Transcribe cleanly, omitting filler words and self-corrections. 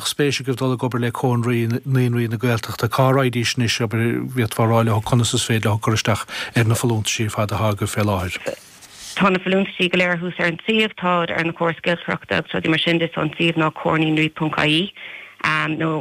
Spéis agaibh dul ag obair le Comhar Naíonraí na Gaeltachta, cá raghaidís anois, abair, bhféadfá a rá leo conas is féidir leo cur isteach ar na folúntaisí ar fad atá agaibh fé láthair? Tá na folúntaisí go léir thuas ar an suíomh, táid ar na córais giolcaireachta agus rudaí mar sin de, so an suíomh ná comharnaíonraí.ie nó.